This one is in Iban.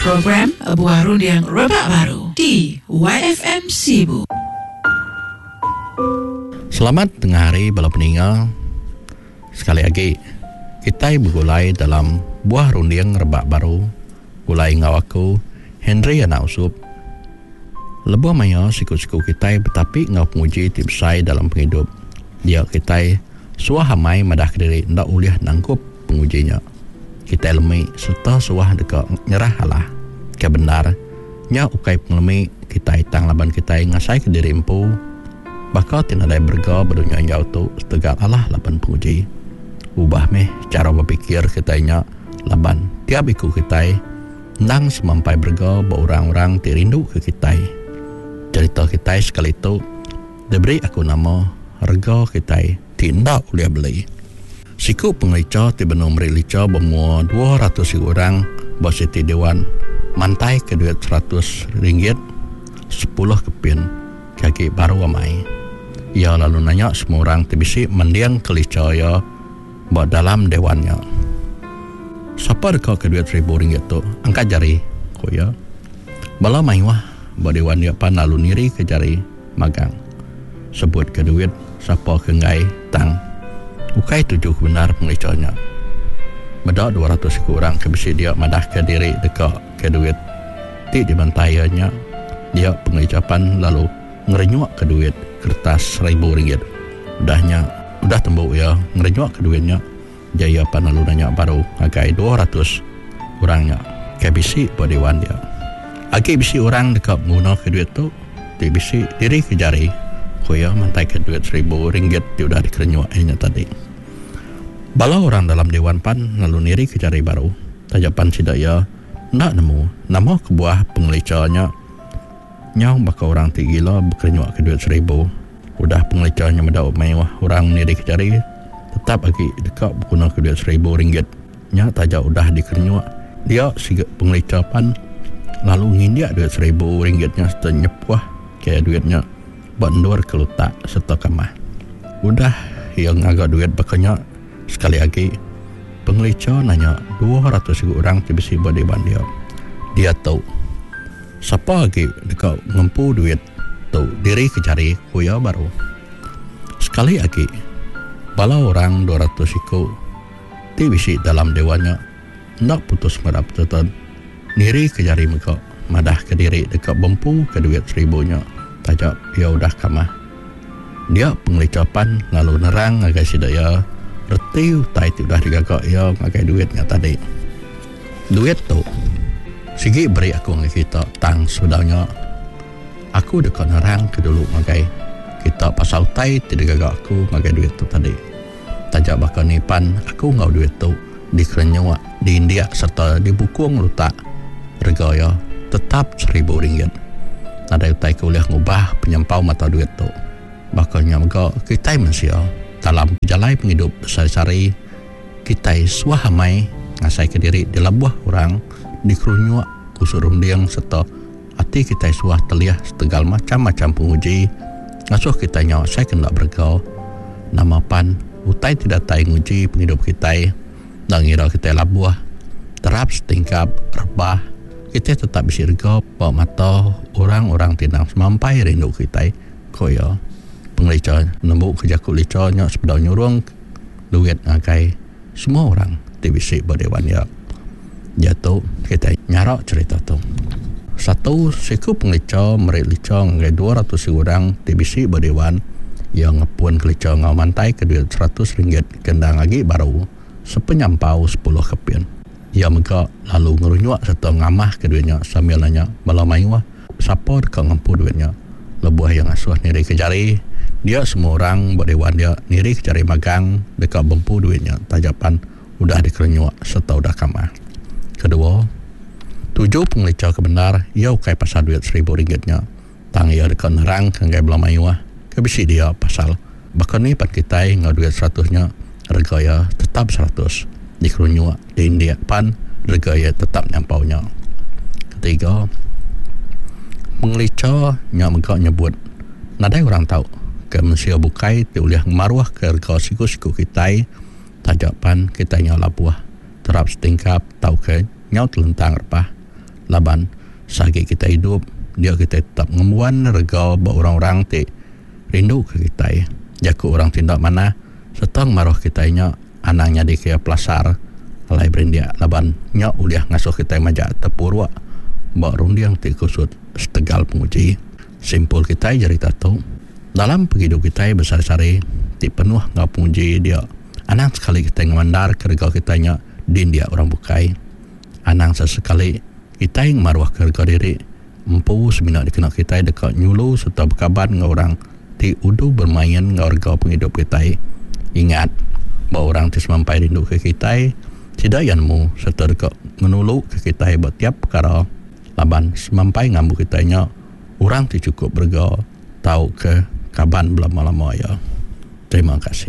Program Buah Runding Rebak Baru di YFM Sibu. Selamat tengah hari bala peninga. Sekali agi kitai begulai dalam Buah Runding Rebak Baru gulai enggau aku Henry Anak Usup. Lebuh maya siku-siku kitai betapi enggau penguji ti besai dalam pengidup, dia kitai suah amai madahka diri enda ulih nangkup penguji nya. Kitai lemi sereta suah deka nyerah alah. Ke bendar, nya ukai pengelemi kitai tang laban kitai ngasaika diri empu baka ti nadai berega ba dunya enggau tu setegal alah laban penguji. Ubah meh chara bepikir kitai nya laban tiap iku kitai Endang semampai berega ba orang-orang ti rinduka kitai. Cherita kitai sekali tu diberi aku nama Rega Kitai Ti Enda Ulih Beli. Siku pengelicha ti benung meri licha ba mua 200 iku orang ba siti dewan mantaika duit seratus ringgit sepuluh kepin ke agi baru amai. Iya lalu nanya semua orang ti bisi mendingka licha iya. Ba dalam dewan nya. Sapa deka ke duit seribu ringgit tu, angkat jari, ku iya. Bala mayuh ba dewan nya pan lalu nirika jari magang. Sebut ke duit sapa ke enggai tang ukai tuju ke bendar pengelicha nya. Meda 200 iku orang ke bisi dia madahka diri deka ke duit ti dibantai iya nya, dia pengelicha pan lalu ngerenyukka duit keretas seribu ringgit. Udah nya, udah tembu iya ngerenyukka duit nya, dia iya pan lalu nanya baru ngagai 200 orang nya ke bisi ba dewan dia. Agi bisi orang deka begunaka duit tu ti bisi dirika jari, ku iya mantaika duit seribu ringgit ti udah dikerenyuk iya nya tadi. Bala orang dalam dewan pan lalu nirika jari baru taja pan sida iya enda nemu nama kebuah pengelicha nya. Nyau baka orang ti gila bekerenyuak ke duit seribu. Udah pengelicha nya meda mayuh orang nirika jari tetap agi deka begunaka duit seribu ringgit nya taja udah dikerenyuak dia siga pengelicha pan lalu ngindik duit seribu ringgit nya sereta nyepuh ke duit nya ba endur ke lutak sereta kamah. Udah iya ngaga duit baka nya sekali agi pengelicha nanya 200 iku orang ti bisi ba diban dia diatu. Sapa agi deka ngempu duit tu diri ke jari, ku iya baru. Sekali agi, bala orang 200 iku ti bisi dalam dewan nya enda putus ngarap sereta niri ke jari mega madahka diri deka bempuka duit seribu nya taja iya udah kamah. Dia pengelicha pan lalu nerang ngagai sida iya reti utai ti udah digaga iya ngagai duit nya tadi. Duit tu sigi beri aku ngagai kita tang sebedau nya aku deka nerangka dulu ngagai kita pasal utai ti digaga aku ngagai duit tu tadi. Taja baka ni pan aku enggau duit tu dikerenyuk, diindik sereta dibukung lutak rega iya tetap seribu ringgit. Nadai utai ke ulih ngubah penyampau mata duit tu. Baka nya mega kitai mensia dalam pejalai pengidup besehari-sehari. Kitai suah amai ngasaika diri dilebuh orang, dikerunyuk, kusut runding sereta ati kitai suah telih setegal macham-macham penguji ngasuh kitai nyau asai ke enda berega. Nama pan utai ti datai nguji pengidup kitai enda ngira kitai labuh, terap setingkap, rebah, kitai tetap bisi rega ba mata orang-orang ti endang semampai rindu kitai, ku iya. Pengelicha nembuka jaku licha nya sebedau nyurung. Duit ngagai semua orang ti bisi ba dewan iya. Diatu kitai nyara cherita tu. Satu, siku pengelicha meri licha ngagai 200 iku orang ti bisi ba dewan. Iya ngepunka licha enggau mantaika duit seratus ringgit ke endang agi baru sepenyampau sepuluh kepin. Iya mega lalu ngerunyuk sereta ngamahka duit nya sambil nanya bala mayuh sapa deka ngempu duit nya. Lebuh iya ngasuh nirika jari, dia semua orang ba dewan dia nirika jari magang deka bempu duit nya taja pan udah dikerenyuk sereta udah kamah. Kedua, tuju pengelicha ke bendar iya ukai pasal duit seribu ringgit nya tang iya deka nerangka ngagai bala mayuh ke bisi dia pasal baka ni pan kitai enggau duit seratus nya rega iya tetap seratus dikerunyuk diindik pan rega iya tetap nyampau nya. Ketiga, pengelicha nya mega nyebut nadai orang tau ke mensia bukai ti ulih ngemaruhka rega siku-siku kitai taja pan kitai nyau labuh terap setingkap tauka nyau telentang rebah. Laban seagi kitai idup dia kitai tetap ngembuan rega ba orang-orang ti rindu ke kitai. Jaku orang ti enda manah sereta ngemaruh kitai nya anang nyadika iya pelasar alai berindik laban nya ulih ngasuh kitai majak tepuruk ba runding ti kusut setegal penguji. Simpul kitai jerita tu, dalam pengidup kitai besehari-sehari ti penuh enggau penguji dia anang sekali kitai ngemandarka rega kitai nya dindik orang bukai. Anang sesekali kitai ngemaruhka rega diri empu semina dikena kitai deka nyulu sereta bekaban enggau orang ti udu bermain enggau rega pengidup kitai. Ingat, ba orang ti semampai rinduka kitai, sida iya nemu sereta deka ngenuluka kitai ba tiap pekara laban semampai ngambu kitai nya orang ti chukup berega tauka kaban belama-lama iya. Terima kasih.